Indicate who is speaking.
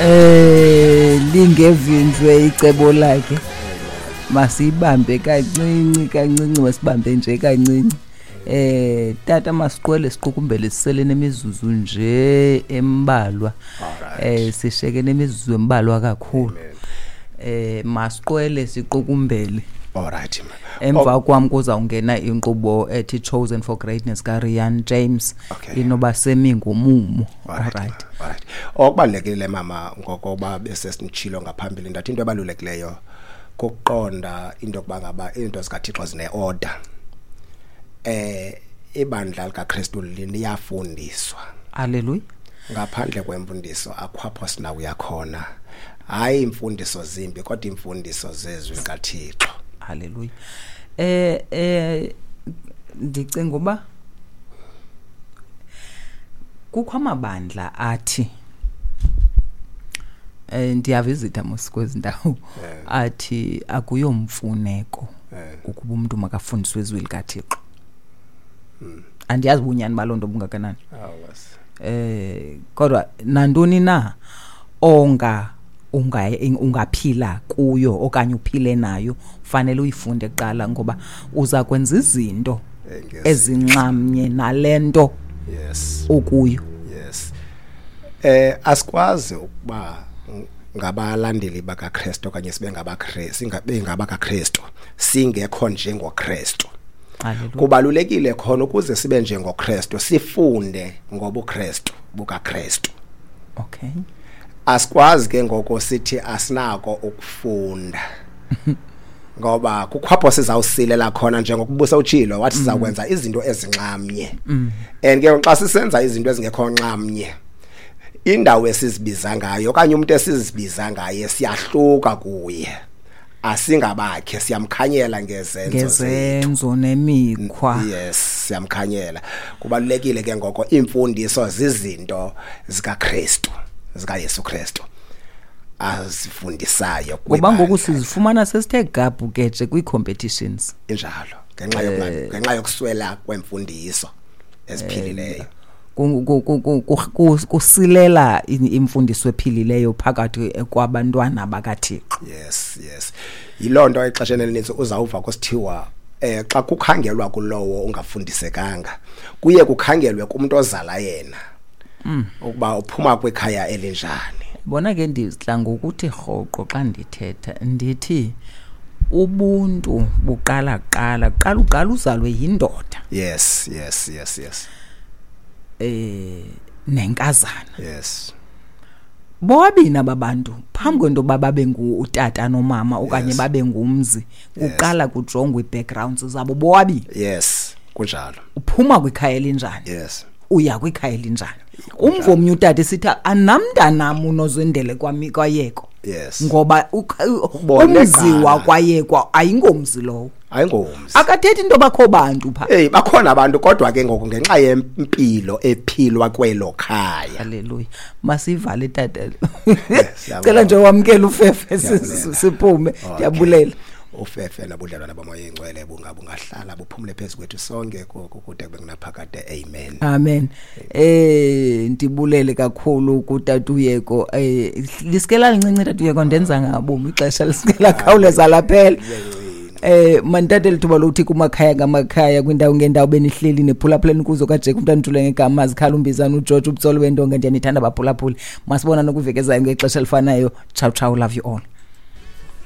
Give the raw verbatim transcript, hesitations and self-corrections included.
Speaker 1: Eh lingevinjwe icebo lakhe. Masibambe kancinci kancinci, masibambe nje kancinci. Eh tata, masiqwele siqukumbele, sisele nemizuzu nje embalwa. Eh sisheke nemizuzu embalwa kakhulu. Eh masiqwele siqukumbele.
Speaker 2: Alright.
Speaker 1: Emva kwam kuzawungena inkqubo ethi Chosen for Greatness kaRian James.
Speaker 2: Okay.
Speaker 1: Inoba semi ngumumo.
Speaker 2: Alright.
Speaker 1: Alright.
Speaker 2: Alright. Okubalulekile, mama, ngokoba bese sinitshilo ngaphambili, ndathi into ebalulekileyo kuqonda into yokuba ngaba izinto zikaThixo zine-order. Eh ibandla likaKristu liyafundiswa.
Speaker 1: Hallelujah.
Speaker 2: Ngaphandle kwemfundiso akhwapho sinakuya khona. Hayi imfundiso zimbi, kodwa imfundiso zezwi likaThixo.
Speaker 1: Hallelujah. Eh eh ndicinga uba kukho amabandla athi, eh ndiyavisita mos kwezi ndawo, athi akuyomfuneko ukuba umuntu makafundiswe izwi likaThixo. Andiyazi ubunyani baloo nto bungakanani. Eh kodwa nantoni na onga unga ungaphila kuyo okanye uphile nayo, fanele uyifunde kuqala, ngoba uza kwenza izinto ezinxamnye nalento
Speaker 2: yes
Speaker 1: okuyo.
Speaker 2: Yes. Eh asikwazi ukuba ngabalandeli bakaKristu okanye sibe ngabaKristu, singabe ngabakaKristu singekho njengoKristu. Kubalulekile khona ukuze sibe njengoKristu sifunde ngobuKristu bukaKristu.
Speaker 1: Okay.
Speaker 2: Asikwazi ke ngoko sithi asinako ukufunda, ngoba kukhwapho sizawusilela khona, njengokubusa utshilo wathi sizakwenza izinto ezinxamnye. And ke xa sisenza izinto ezingekho nxamnye, indawo esizibiza ngayo okanye umuntu esizibiza ngaye siyahluka kuye, asingabakhe, siyamkhanyela ngezenzo
Speaker 1: ngezenzo nemikhwa.
Speaker 2: Yes, siyamkhanyela. Kubalulekile ke ngoko imfundiso zizinto zikaKristu, zikaYesu Kristu azifundisayo.
Speaker 1: Ngoba ngoku sizifumana sesithe gabhu ke kwi-competitions.
Speaker 2: Injalo, ngenxa yokungabi, ngenxa yokuswela kwemfundiso eziphilileyo.
Speaker 1: Kusilela imfundiso ephilileyo phakathi kwabantwana bakaThixo.
Speaker 2: Yes, yes. Yiloo nto exesheni elininzi uzawuva kusithiwa eh xa kukhangelwa kulowo ungafundisekanga, kuye kukhangelwe kumuntu ozala yena ukuba uphuma kwikhaya elinjani.
Speaker 1: Bona ke ndidla ngokuthi rhoqo xa ndithetha ndithi ubuntu buqala kuqala, kuqala uqala uzalwe yindoda.
Speaker 2: Yes, yes, yes, yes.
Speaker 1: Eh nenkazana.
Speaker 2: Yes.
Speaker 1: Bobabini ababantu phambi kwento babe ngutata nomama okanye
Speaker 2: yes.
Speaker 1: babe ngumzi, kuqala kujongwe i-backgrounds zabo bobabini.
Speaker 2: Yes, kunjalo.
Speaker 1: Uphuma kwikhaya elinjani?
Speaker 2: Yes.
Speaker 1: Uya kwikhaya elinjani? Umvomnye utata sithi anamntanam unozendele kwami kwayeko.
Speaker 2: Yes.
Speaker 1: Ngoba umzi wakwayekwa ayingomzi lowo.
Speaker 2: Ayingomzi.
Speaker 1: Akathethi into bakho bantu pha.
Speaker 2: Hey, bakhona abantu kodwa ke ngoku ngenxa yempilo ephilwa kwelo khaya.
Speaker 1: Hallelujah. Masivale tata. Cela nje wamkele ufefe siphume. Ndiyabulela.
Speaker 2: Ufefe nabudlelwana bomoya engcwele bungabungahlala buphumule phezulu kwethu sonke kude kube kunaphakade. Amen.
Speaker 1: Amen. Eh ndibulele kakhulu kutata Uyeko. Eh lisikela lincinci tata Uyeko, ndenza ngabomi ixesha lisikela khawuleza laphela. Eh mantathe lithuba lokuthi kumakhaya ngamakhaya kwindawo ngendawo benihleli nephulaphuleni kuzo kaJack umntana uthule ngegama zikhala umbizana uGeorge ubutsolo wendonga. Ndiyanithanda baphulaphuli. Masibona nokuvekezayo ngexesha elifanayo. Ciao ciao, love you all.